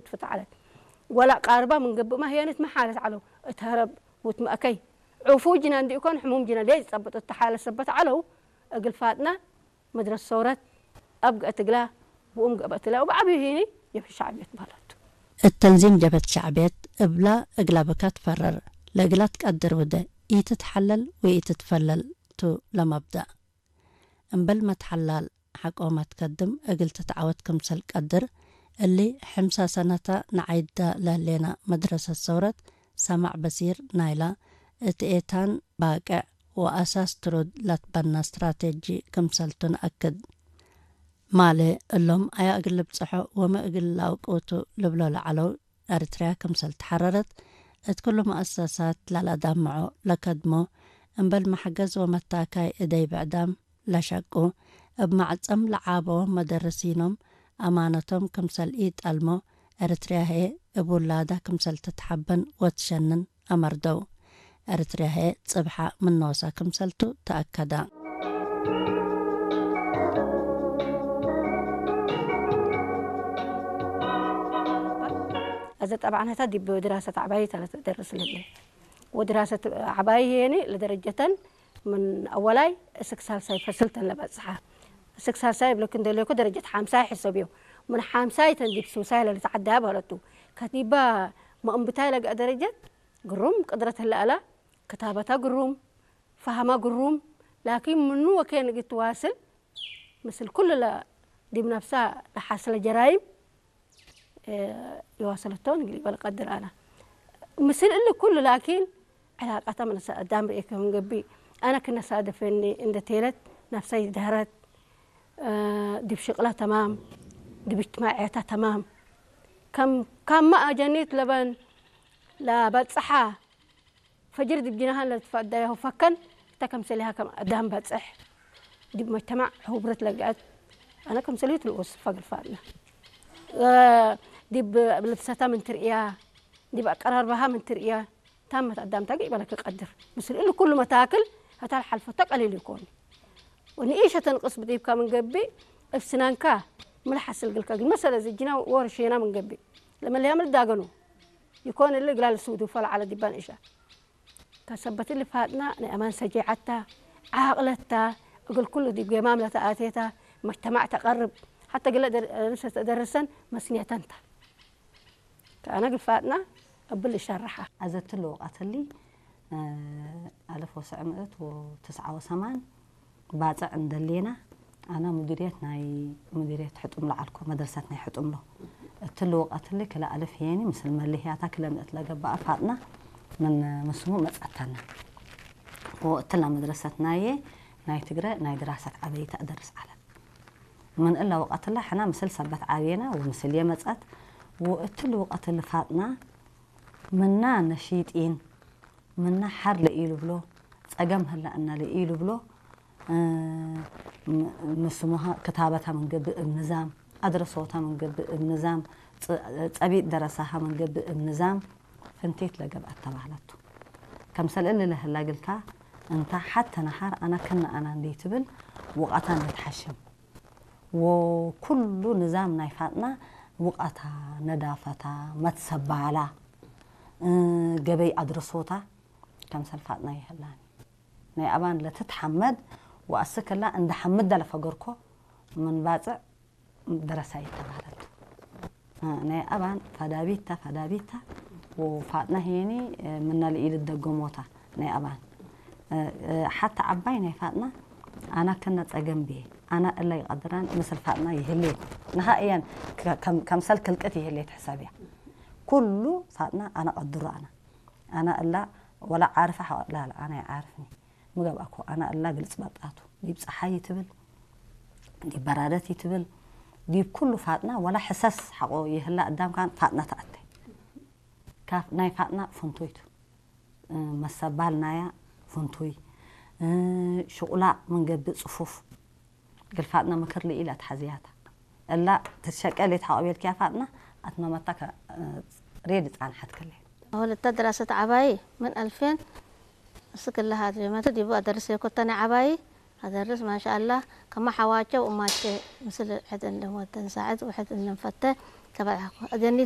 ትፍትዓለት። ወላ ቃርባ ምን ገብእ ማህያነት መሓለት ዓለው። እተረብ ውት መእከይ። ዑፉ ጅና እንዲእኮን ሕሙም ጅና ደይ ዝጸበጡ ተሓለ ሰበት ዓለው። እግል ፋጥና መድረስ ሰውረት ኣብ ገእትግላ ብኡም ገበትላ ወብዓብዩ ሂኒ ጀብህት ሻዕብየት በህለቱ። እተንዚም ጀበት ሻዕብየት እብላ እግላ ብካ ትፈረር ለእግላ ትቀድር ውደ ኢትትሓለል ወኢትትፈለል ቱ ለመብዳእ። እምበል መትሓላል ሓቆ መትከድም እግል ትትዓወት ክምሰል ቀድር እሊ ሕምሳ ሰነታ ንዓይዳ ለህሌና መድረሰት ሰውረት ሰማዕ በሲር ናይላ እት ኤታን ባቅዕ ወኣሳስ ትሩድ ላትበና ስትራቴጂ ክምሰልቱ ነኣክድ። ማሌ እሎም ኣያ እግል ልብጽሖ ወመ እግል ላውቅውቱ ልብሎ ለዓለው ኤርትርያ ክምሰል ተሓረረት እት ኩሉ መኣሰሳት ላላዳምዖ ለከድሞ እምበል መሕገዝ ወመታካይ እደይ ብዕዳም ለሸቁ እብ ማዕጸም ለዓቦ መደርሲኖም ኣማነቶም ክምሰል ኢጠልሞ ኤርትርያ ህኤ እብ ውላዳ ክምሰል ትትሓበን ወትሸንን ኣመርደው። ኤርትርያ ህኤ ጽብሓ ምን ኖሳ ክምሰልቱ ተኣከዳ። እዚ ጠባዕነታ ዲብ ድራሰት ዓባይ ተደርስ ለለ ወድራሰት ዓባይ ሄኒ ለደረጀተን ምን ኣወላይ እስክ ሳልሳይ ፈስልተን ለበጽሓ። እስክ ሳልሳይ ብለክ እንደለኮ ደረጀት ሓምሳይ ሕሰብ እዩ። ምን ሓምሳይ ተን ዲብ ሱሳይ ለልትዓዳ በለቱ። ከቲባ መእንብታይ ለገ ደረጀት ግሩም ቅድረት ህለኣላ ክታበታ ግሩም ፋህማ ግሩም ላኪን ምኑ ወኬን እግል ትዋስል ምስል ኩሉ ለ ዲብ ነፍሳ ለሓስለ ጀራይም የዋሰለቶን እግል ይበል ቀድር ኣና ምስል እሊ ኩሉ ላኪን ዕላቃታ መነሰ ኣዳም ርእየ ከም ገቢ ኣነ ክነሳደፈኒ እንደ ቴለት ነፍሰይ ዝደህረት ዲብ ሽቅላ ተማም ዲብ እጅትማዕያታ ተማም ከም ካማ ኣጀኒት ለበን ለበጽሓ ፈጅር ዲብ ጅናሃን ለትፈዳያሁ ፈከን እተ ከምሰሊሃ ከም ኣዳም በጽሕ ዲብ መጅተማዕ ሑብረት ለግአት ኣነ ከምሰሊሁ ትልወስ ፈግል ፋድና ዲብ ልብሰታ ምን ትርእያ ዲብ ኣቀራርባሃ ምን ትርእያ ታመት ኣዳም ታገ ይበለክ ቀድር ምስል እሉ ኩሉ መታክል ህታል ሓልፈቶ ቀሊል ይኮን ወንኢሸ ተንቅስ ብዲብካ ምን ገቢ እብ ስናንካ ምልሓስል ግልካ ግን መሰለ ዝጅና ወርሽና ምን ገቢ ለመለያ ምልዳገኑ ይኮን እሊ እግላ ልስውዱ ፈል ዓለ ዲባን እሻ ከሰበት እሊ ፋጥና ናይ ኣማን ሰጀዓታ ዓቅለታ እግል ኩሉ ዲብ ገማም ለተኣቴታ መጅተማዕ ተቀርብ ሓተ ግለ ርእሰ ተደርሰን መስንየተንታ ከኣነ ግል ፋጥና እብል እሸርሓ። ኣዘትሉ ወቃትሊ ኣልፍ ወሰዕ ምእት ወትስዓ ወሰማን ባጽዕ እንደሌና ኣና ሙዲርየት ናይ ሙዲርየት ሕጡም ለዓልኮ መድረሰት ናይ ሕጡም ሎ እትሉ ወቀትሊ ክለ ኣልፍ ሄኒ ምስል መሊህያታ ክለ ምእት ለገባኣ ፋጥና ምን ምስሙ መጸተና ወእትላ መድረሰት ናየ ናይ ትግረ ናይ ድራሰት ዓበይታ እደርስ ዓለ ምን እላ ወቀትላ ሕና ምስል ሰበት ዓብየና ወምስል የመጸት ወእትሉ ወቀትሊ ፋጥና ምና ነሺጢን ምና ሓር ለኢሉብሎ ጸገም ህላ እና ለኢሉብሎ ምስሙሃ ክታበታ ምንገብእ እብ ንዛም ኣድረሶታ ምንገብእ እብ ንዛም ጸቢጥ ደረሳሃ ምንገብእ እብ ንዛም ፍንቴት ለገብኣት ተባህለቱ። ከምሰል እሊ ለህላ ግልካ እንታ ሓተ ነሃር ኣና ክነ ኣና እንዴ ትብል ውቃታ እንዴ ትሓሽም ወኩሉ ንዛም ናይ ፋጥና ውቃታ ነዳፈታ መትሰባላ ገበይ ኣድረሶታ ከምሰል ፋጥና ይህላኒ ናይ ኣባን ለትትሓመድ ወኣስክላ እንደ ሓምድ ለፈገርኮ ምን ባጽዕ ደረሳ ይተባህለት ናይ ኣባን ፋዳቢታ ፋዳቢታ ወፋጥና ሄኒ ምና ልኢል ደገሞታ ናይ ኣባን ሓታ ዓባይ ናይ ፋጥና ኣና ከነ ጸገም ብየ ኣና እላ ይቀድራን ምስል ፋጥና ይህሌት ንሃ እያን ከምሰል ክልቅት ይህሌት ሕሳብ እያ ኩሉ ፋጥና ኣና ቀድሮ ኣና ኣና እላ ወላ ዓርፈ ሓቆ ላላ ኣና ይዓርፍኒ ምገብኣኮ ኣና እላ ግልጽ በጣቱ ዲብ ጸሓይ ይትብል ዲብ በራደት ይትብል ዲብ ኩሉ ፋጥና ወላ ሕሰስ ሓቆ ይህላ እዳም ካን ፋጥና ተኣተ ካፍ ናይ ፋጥና ፍንቶይቱ መሰባል ናያ ፍንቶይ ሽቁላ መንገብእ ጽፉፍ ግል ፋጥና ምክር ልኢላ ተሓዝያታ እላ ተሸቀል የተሓቆቤልክያ ፋጥና ኣትመመታ ሬድ ጻንሓት ከለ ሆለታ ድራሰት ዓባይ ምን ኣልፌን እስክላ ሃድሬ መተ ዲቡ ኣደርስ የኮተነ ዓባይ ኣደርስ ማሻኣላ ከማ ሓዋቸው እማቸ ምስል ሕድ እንደም ወተን ሳዕድ ውሕድ እንደም ፈተ ተበልሓኩ ኣጀኒት